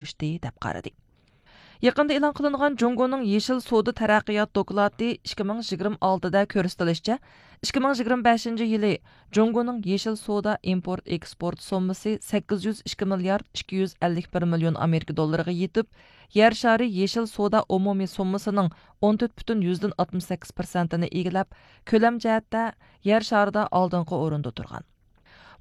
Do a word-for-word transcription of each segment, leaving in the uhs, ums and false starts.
ئېرىشتى، دەپ قارىدى. يېقىندا ئېلان قىلىنغان جۇڭگونىڭ يېشىل سودا تەرەققىيات دوكلاتى ئىككى مىڭ يىگىرمە ئالتىدە كۆرسىتىلىشىچە، ئىككى مىڭ يىگىرمە بەشىنچى يىلى جۇڭگونىڭ يېشىل سودا ئىمپورت ئېكسپورت سوممىسى سەككىز يۈز ئىككى مىليارد ئىككى يۈز ئەللىك بىر مىليون ئامېرىكا دوللىرىغا يېتىپ، يەر شارى يېشىل سودا ئومۇمىي سوممىسىنىڭ ئون تۆت پۈتۈن يۈزدىن ئاتمىش سەككىز پىرسەنتىنى ئىگىلەپ، كۆلەم جەھەتتە يەر شارىدا ئالدىنقى ئورۇندا تۇرغان.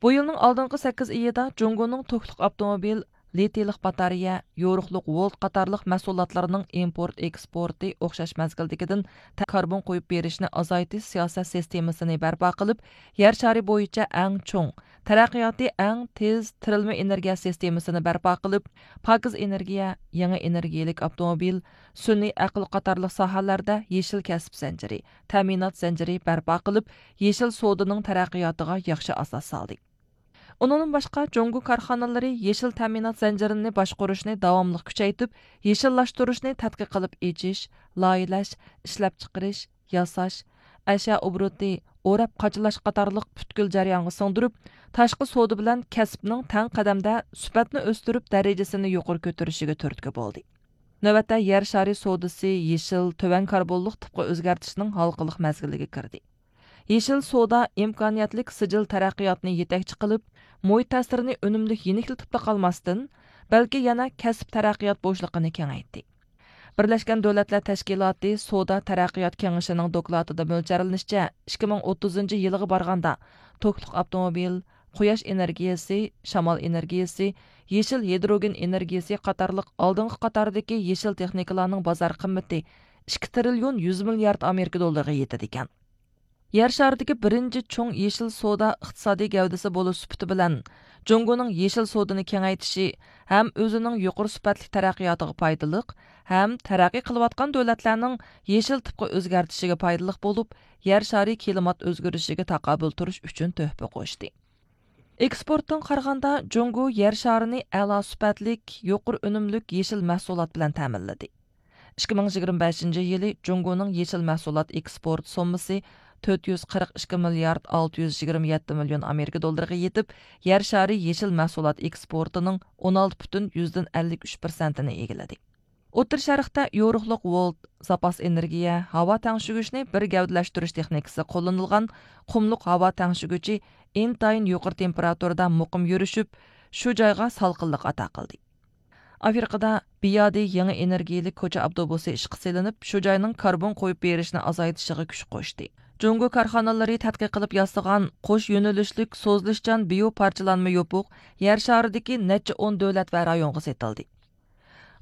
بۇ يىلنىڭ ئالدىنقى سەككىز ئېيىدا جۇڭگونىڭ توكلۇق ئاپتوموبىل، لىتىيلىق باتارېيە، يورۇقلۇق ۋولت قاتارلىق مەھسۇلاتلارنىڭ ئىمپورت ئېكسپورتى ئوخشاش مەزگىلدىكىدىن تە-، كاربون قويۇپ بېرىشنى ئازايتىش سىياسەت سىستېمىسىنى بەرپا قىلىپ، يەر شارى بويىچە ئەڭ چوڭ، تەرەققىياتى ئەڭ تېز تىرىلما ئېنېرگىيە سىستېمىسىنى بەرپا قىلىپ، پاكىز ئېنېرگىيە، يېڭى ئېنېرگىيىلىك ئاپتوموبىل، سۈنئىي ئەقىل قاتارلىق ساھەلەردە يېشىل كەسىپ زەنجىرى، تەمىنات زەنجىرى بەرپا قىلىپ، يېشىل سودىنىڭ تەرەققىياتىغا ياخشى ئاساس سالدى. ئۇنىڭدىن باشقا، جۇڭگو كارخانىلىرى يېشىل تەمىنات زەنجىرىنى باشقۇرۇشنى داۋاملىق كۈچەيتىپ، يېشىللاشتۇرۇشنى تەتقىق قىلىپ ئېچىش، لايىھەلەش، ئىشلەپچىقىرىش، ياساش، ئەشيا ئوبوروتى، ئوراپ قاچىلاش قاتارلىق پۈتكۈل جەريانغا سىڭدۈرۈپ، تاشقى سودا بىلەن كەسىپنىڭ تەڭ قەدەمدە سۈپەتنى ئۆستۈرۈپ، دەرىجىسىنى يۇقىرى كۆتۈرۈشىگە تۈرتكە بولدى. نۆۋەتتە يەر شارى سودىسى يېشىل، تۆۋەن كاربونلۇق تىپقا ئۆزگەرتىشنىڭ ھالقىلىق مەزگىلىگە كىردى. يېشىل سودا ئىمكانىيەتلىك سىجىل تەرەققىياتنى يېتەكچى قىلىپ، مۇھىت تەسىرىنى ئۈنۈملۈك يېنىكلىتىپلا قالماستىن، بەلكى يەنە كەسىپ تەرەققىيات بوشلۇقىنى كېڭەيتتى. بىرلەشكەن دۆلەتلەر تەشكىلاتى سودا تەرەققىيات كېڭىشىنىڭ دوكلاتىدا مۆلچەرلىنىشىچە، ئىككى مىڭ ئوتتۇزىنچى يىلىغا بارغاندا، توكلۇق ئاپتوموبىل، قۇياش ئېنېرگىيىسى، شامال ئېنېرگىيىسى، يېشىل ھىدروگېن ئېنېرگىيىسى قاتارلىق ئالدىنقى قاتاردىكى يېشىل تېخنىكىلارنىڭ بازار قىممىتى ئىككى تىرىليون يۈز مىليارد ئامېرىكا دوللىرىغا يېتىدىكەن. يەر شارىدىكى بىرىنچى چوڭ يېشىل سودا ئىقتىسادىي گەۋدىسى بولۇش سۈپىتى بىلەن، جۇڭگونىڭ يېشىل سودىنى كېڭەيتىشى ھەم ئۆزىنىڭ يۇقىرى سۈپەتلىك تەرەققىياتىغا پايدىلىق، ھەم تەرەققىي قىلىۋاتقان دۆلەتلەرنىڭ يېشىل تىپقا ئۆزگەرتىشىگە پايدىلىق بولۇپ، يەر شارى كىلىمات ئۆزگىرىشىگە تاقابىل تۇرۇش ئۈچۈن تۆھپە قوشتى. ئېكسپورتتىن قارىغاندا، جۇڭگو يەر شارىنى ئەلا سۈپەتلىك، يۇقىرى ئۈنۈملۈك يېشىل مەھسۇلات بىلەن تەمىنلىدى. ئىككى مىڭ يىگىرمە بەشىنچى يىلى جۇڭگونىڭ يېشىل مەھسۇلات ئېكسپورت سوممىسى تۆت يۈز قىرىق ئىككى مىليارد ئالتە يۈز يىگىرمە يەتتە مىليون ئامېرىكا دوللىرىغا يېتىپ، يەر شارى يېشىل مەھسۇلات ئېكسپورتىنىڭ ئون ئالتە پۈتۈن يۈزدىن ئەللىك ئۈچ پىرسەنتىنى ئىگىلىدى. ئوتتۇرا شەرقتە يورۇقلۇق ۋولت، زاپاس ئېنېرگىيە، ھاۋا تەڭشىگۈچنى بىر گەۋدىلەشتۈرۈش تېخنىكىسى قوللىنىلغان قۇملۇق ھاۋا تەڭشىگۈچى ئىنتايىن يۇقىرى تېمپېراتۇرىدا مۇقىم يۈرۈشۈپ، شۇ جايغا سالقىنلىق ئاتا قىلدى. ئافرىقىدا بىيادى يېڭى ئېنېرگىيىلىك كوچا ئاپتوبۇسى ئىشقا سېلىنىپ، شۇ جاينىڭ كاربون قويۇپ بېرىشنى ئازايتىشىغا كۈچ قوشتى. جۇڭگو كارخانىلىرى تەتقىق قىلىپ ياسىغان قوش يۆنىلىشلىك سوزۇلۇشچان بىيو پارچىلانما يوپۇق يەر شارىدىكى نەچچە ئون دۆلەت ۋە رايونغا سېتىلدى.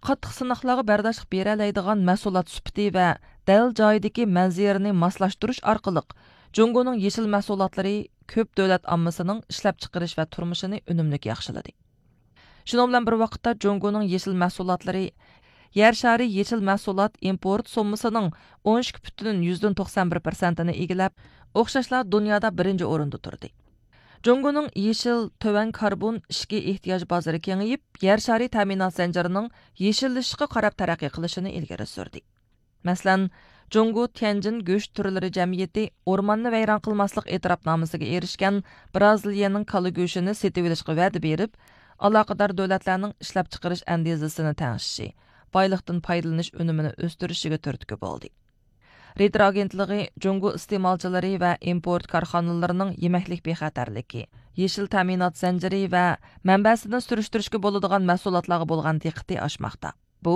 قاتتىق سىناقلارغا بەرداشلىق بېرەلەيدىغان مەھسۇلات سۈپىتى ۋە دەل جايىدىكى مەنزىرىنى ماسلاشتۇرۇش ئارقىلىق، جۇڭگونىڭ يېشىل مەھسۇلاتلىرى كۆپ دۆلەت ئاممىسىنىڭ ئىشلەپچىقىرىش ۋە تۇرمۇشىنى ئۈنۈملۈك ياخشىلىدى. شۇنىڭ بىلەن بىر ۋاقىتتا، جۇڭگونىڭ يېشىل مەھسۇلاتلىرى يەر شارى يېشىل مەھسۇلات ئىمپورت سوممىسىنىڭ ئون ئىككى پۈتۈن يۈزدىن توقسان بىر پىرسەنتىنى ئىگىلەپ، ئوخشاشلا دۇنيادا بىرىنچى ئورۇندا تۇردى. جۇڭگونىڭ يېشىل، تۆۋەن كاربون ئىچكى ئېھتىياج بازىرى كېڭىيىپ، يەر شارى تەمىنات زەنجىرىنىڭ يېشىللىشىشقا قاراپ تەرەققىي قىلىشىنى ئىلگىرى سۈردى. مەسىلەن، جۇڭگو تيەنجىن گۆش تۈرلىرى جەمئىيىتى ئورماننى ۋەيران قىلماسلىق ئېتىراپنامىسىگە ئېرىشكەن بىرازىلىيەنىڭ كالا گۆشىنى سېتىۋېلىشقا ۋەدە بېرىپ، ئالاقىدار دۆلەتلەرنىڭ ئىشلەپچىقىرىش ئەندىزىسىنى تەڭشىشى، بايلىقتىن پايدىلىنىش ئۈنۈمىنى ئۆستۈرۈشىگە تۈرتكە بولدى. رېيتېر ئاگېنتلىقى جۇڭگو ئىستېمالچىلىرى ۋە ئىمپورت كارخانىلىرىنىڭ يېمەكلىك بىخەتەرلىكى، يېشىل تەمىنات زەنجىرى ۋە مەنبەسىدىن سۈرۈشتۈرۈشكە بولىدىغان مەھسۇلاتلارغا بولغان دىققىتى ئاشماقتا. بۇ،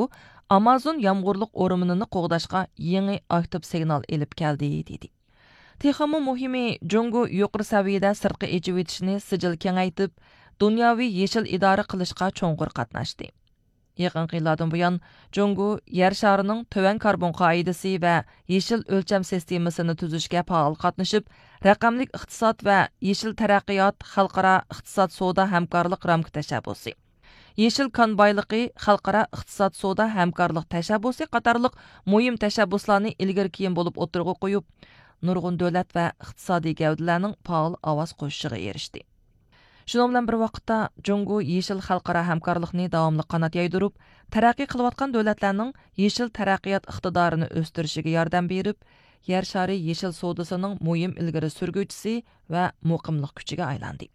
ئامازون يامغۇرلۇق ئورمىنىنى قوغداشقا يېڭى ئاكتىپ سىگنال ئېلىپ كەلدى، دېدى. تېخىمۇ مۇھىمى، جۇڭگو يۇقىرى سەۋىيەدە سىرتقا ئېچىۋېتىشنى سىجىل كېڭەيتىپ، دۇنياۋى يېشىل ئىدارە قىلىشقا چوڭقۇر قاتناشتى. يېقىنقى يىللاردىن بۇيان، جۇڭگو يەر شارىنىڭ تۆۋەن كاربون قائىدىسى ۋە يېشىل ئۆلچەم سىستېمىسىنى تۈزۈشكە پائال قاتنىشىپ، رەقەملىك ئىقتىساد ۋە يېشىل تەرەققىيات خەلقئارا ئىقتىساد سودا ھەمكارلىق رامكا تەشەببۇسى، يېشىل كان بايلىقى خەلقئارا ئىقتىساد سودا ھەمكارلىق تەشەببۇسى قاتارلىق مۇھىم تەشەببۇسلارنى ئىلگىرى كېيىن بولۇپ ئوتتۇرىغا قويۇپ، نۇرغۇن دۆلەت ۋە ئىقتىسادىي گەۋدىلەرنىڭ پائال ئاۋاز قوشۇشىغا ئېرىشتى. شۇنىڭ بىلەن بىر ۋاقىتتا، جۇڭگو يېشىل خەلقئارا ھەمكارلىقنى داۋاملىق قانات يايدۇرۇپ، تەرەققىي قىلىۋاتقان دۆلەتلەرنىڭ يېشىل تەرەققىيات ئىقتىدارىنى ئۆستۈرۈشىگە ياردەم بېرىپ، يەر شارى يېشىل سودىسىنىڭ مۇھىم ئىلگىرى سۈرگۈچىسى ۋە مۇقىملىق كۈچىگە ئايلاندى.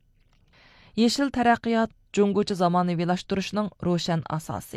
يېشىل تەرەققىيات جۇڭگوچە زامانىۋىلاشتۇرۇشنىڭ روشەن ئاساسى.